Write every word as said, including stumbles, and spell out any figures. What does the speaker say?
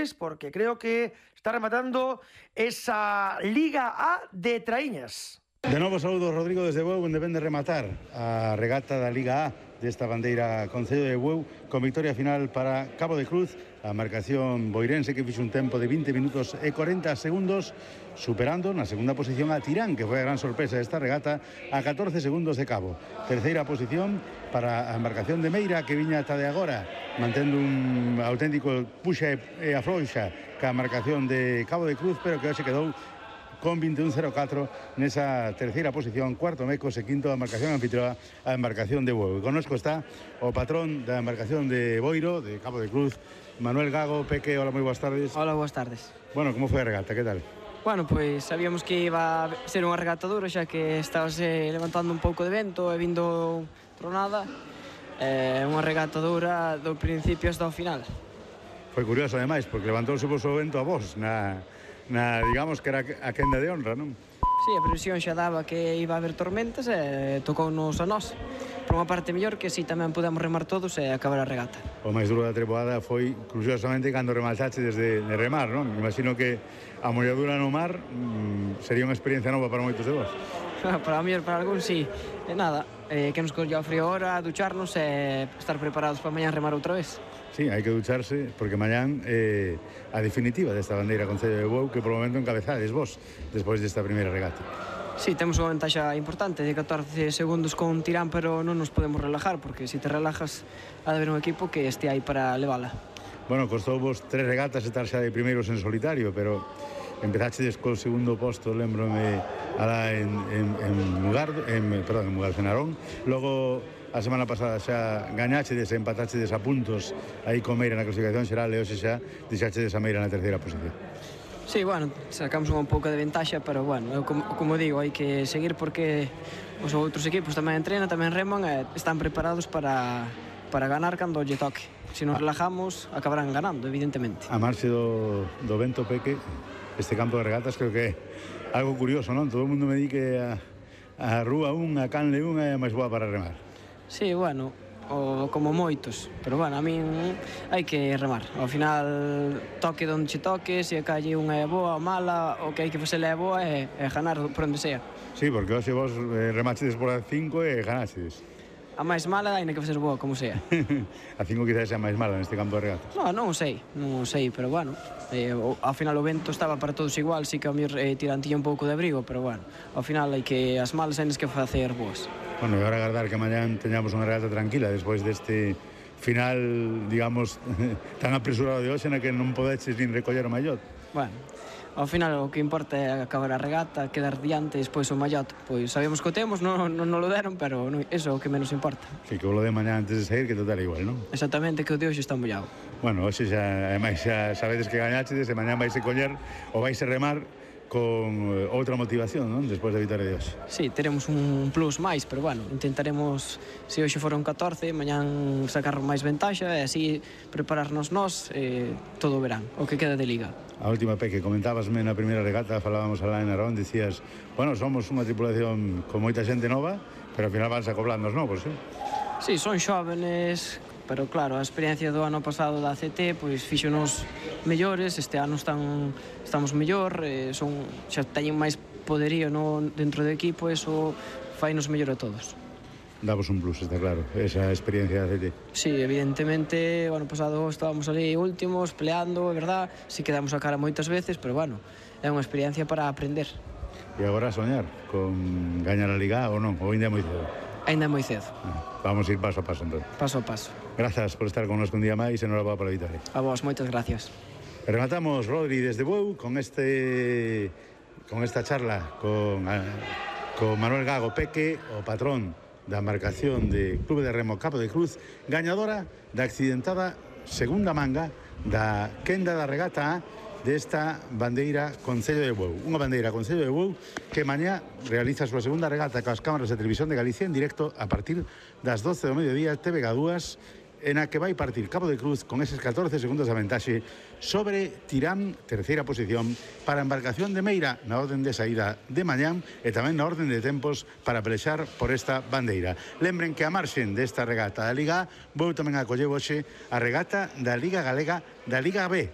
goles, porque creo que está rematando esa Liga A de Traíñas. De novo saúdo, Rodrigo, desde Bueu, onde ven de rematar a regata da Liga A desta bandeira Concello de Bueu, con victoria final para Cabo de Cruz, a marcación boirense que fixo un tempo de vinte minutos e corenta segundos, superando na segunda posición a Tirán, que foi a gran sorpresa desta regata, a catorce segundos de Cabo. Terceira posición para a embarcación de Meira, que viña ata de agora, mantendo un auténtico puxa e afrouxa ca marcación de Cabo de Cruz, pero que hoxe quedou con veintiún cero catro nesa terceira posición, cuarto Mecos e quinto a embarcación anfitrioa, a embarcación de Bueu. E connosco está o patrón da embarcación de Boiro, de Cabo de Cruz, Manuel Gago. Peque, hola, moi boas tardes. Hola, boas tardes. Bueno, como foi a regata, que tal? Bueno, pois sabíamos que iba a ser unha regata dura, xa que estábase levantando un pouco de vento e vindo tronada. É unha regata dura do principio hasta o final. Foi curioso, ademais, porque levantouse vos o vento a vos na... na, digamos que era a quenda de honra, non? Sí, a previsión xa daba que iba a haber tormentas e tocounos a nós. Por unha parte mellor que si tamén podemos remar todos e acabar a regata. O máis duro da treboada foi, curiosamente, cando remataste desde de remar, non? Imagino que a molladura no mar mmm, sería unha experiencia nova para moitos de vos. Para mí, para algún, sí. E nada, eh, que nos collía o frío ahora, ducharnos e estar preparados para mañán remar outra vez. Sí, hai que ducharse, porque mañán é eh, a definitiva desta bandeira Concello de Bueu, que por momento encabezades vos, despois desta primeira regata. Sí, temos unha ventaxa importante de catorce segundos con Tirán, pero non nos podemos relajar, porque se te relajas ha de haber un equipo que este aí para levala. Bueno, costou vos tres regatas estar xa de primeiros en solitario, pero empezachedes co segundo posto, lembrome, alá en, en, en Mugardo, en, perdón, en Mugardo, en Narón. Logo, a semana pasada xa gañachedes e empatachedes a puntos aí con Meira na clasificación xeral e hoxe xa deixachedes a Meira na terceira posición. Sí, bueno, sacamos unha pouca de ventaxa, pero bueno, eu, como, como digo, hai que seguir porque os outros equipos tamén entrenan, tamén reman e están preparados para, para ganar cando lle toque. Se nos relajamos, acabarán ganando, evidentemente. A marxe do, do vento, Peque, este campo de regatas creo que é algo curioso, non? Todo o mundo me di que a, a Rúa un, a Canle un é a máis boa para remar. Sí, bueno, o, como moitos, pero bueno, a min hai que remar. Ao final, toque donde che toque, se a calle unha é boa ou mala, o que hai que facer é boa é, é ganar por onde sea. Sí, porque hoxe vos eh, remachedes por a cinco e ganachedes. A máis mala hai que facer boa, como sea. A cinco quizás é a máis mala neste campo de regatas. No, non o sei, non o sei, pero bueno, eh, o, ao final o vento estaba para todos igual, sí que a mí eh, tirantilla un pouco de abrigo, pero bueno, ao final hai que as malas hai que facer boas. Bueno, e agora agardar que mañán teñamos unha regata tranquila despois deste final, digamos, tan apresurado de hoxe na que non podeches nin recoller o mallot. Bueno, ao final o que importa é acabar a regata, quedar diante e despois o mallot. Pois sabemos que o temos, non, non, non lo deron, pero non, eso é o que menos importa. Sí, que o lo de mañán antes de sair, que total igual, non? Exactamente, que o de hoxe está mollado. Bueno, hoxe xa, ademais, xa sabedes que gañachedes e mañán vais a coller ou vais a remar con outra motivación, non? Despois da vitória de hoxe. Sí, teremos un plus máis, pero bueno, intentaremos, se hoxe foron catorce, mañán sacar máis ventaxa e así prepararnos nós eh, todo o verán, o que queda de Liga. A última, Peque, comentábasme na primeira regata, falábamos alá en Narón, dicías, bueno, somos unha tripulación con moita xente nova, pero ao final vanse acoblando os novos, eh? Sí, son xóvenes, pero claro, a experiencia do ano pasado da C T pois fíxonos mellores, este ano están, estamos mellor, eh, son, xa teñen máis poderío no, dentro do equipo, eso fainos mellor a todos. Davos un plus, está claro, esa experiencia da C T. Sí, evidentemente, o ano pasado estábamos ali últimos, peleando, é verdad, si quedamos a cara moitas veces, pero bueno, é unha experiencia para aprender. E agora a soñar con gañar a Liga ou non, ou ainda é moi cedo? Ainda é moi cedo. Vamos a ir paso a paso, entón. Paso a paso. Grazas por estar con nos un día máis e enhorabuá pola vitória. A vos, moitas gracias. E rematamos, Rodri, desde Bueu con este con esta charla con, con Manuel Gago Peque, o patrón da embarcación de Clube de Remo Cabo de Cruz, gañadora da accidentada segunda manga da quenda da regata A desta bandeira Concello de Bueu. Unha bandeira Concello de Bueu que mañá realiza a súa segunda regata coas cámaras de televisión de Galicia en directo a partir das doce do mediodía, T V G dúas, en a que vai partir Cabo de Cruz con eses catorce segundos de ventaxe sobre Tirán, terceira posición, para a embarcación de Meira na orden de saída de mañán e tamén na orden de tempos para pelexar por esta bandeira. Lembren que a marxen desta regata da Liga A, vou tamén acoller hoxe a regata da Liga Galega da Liga B,